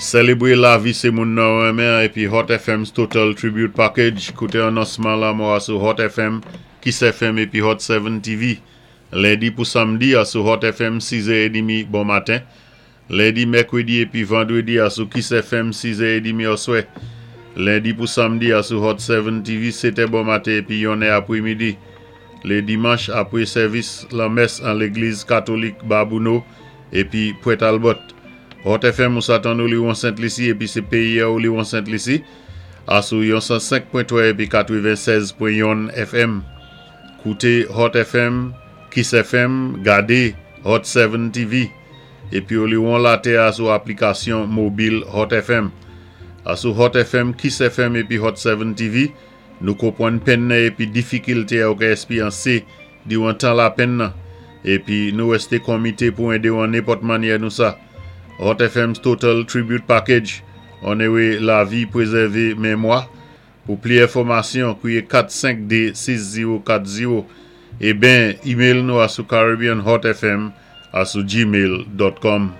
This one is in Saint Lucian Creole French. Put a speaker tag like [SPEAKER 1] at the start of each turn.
[SPEAKER 1] Sélébwé lavi sé moun nou renmen épi Hot FM's Total Tribute Package. Kouté anonsman lanmò a sou Hot FM, Kiss FM épi Hot 7 TV. Lendi pou samdi a sou Hot FM 6h30 bon maten. Lendi, mèkwédi épi vandwédi a sou Kiss FM 6h30 oswè. Lendi pou samdi a sou Hot 7 TV 7è bon maten épi 1è apwémidi. Lé dimanch apwé sèvis lanmès an légliz katolik Babouno épi Pwent Albòt. Hot FM ou sa tann ou li won Sent Lisi épi sé péyi ou li won Sent Lisi a sou yon 105.3 épi 96.1 FM. Kouté Hot FM, Kiss FM, gadé Hot 7 TV. Épi ou li won latè a sou aplikasyon mobil Hot FM. A sou Hot FM, Kiss FM épi Hot 7 TV, nou konpwann penn nan épi difikilté a ou ka èspéryansé diwan tan lapenn nan. Épi nou wèsté konmité pou édé ou an nenpòt mannyè nou sa. Hot FM's Total Tribute Package, onoré lavi, pwézèvé mémwa. Pou pli enfòmasyon, kwiyé 452 6040 é ben email nou a sou caribbeanhotfm a sou gmail.com.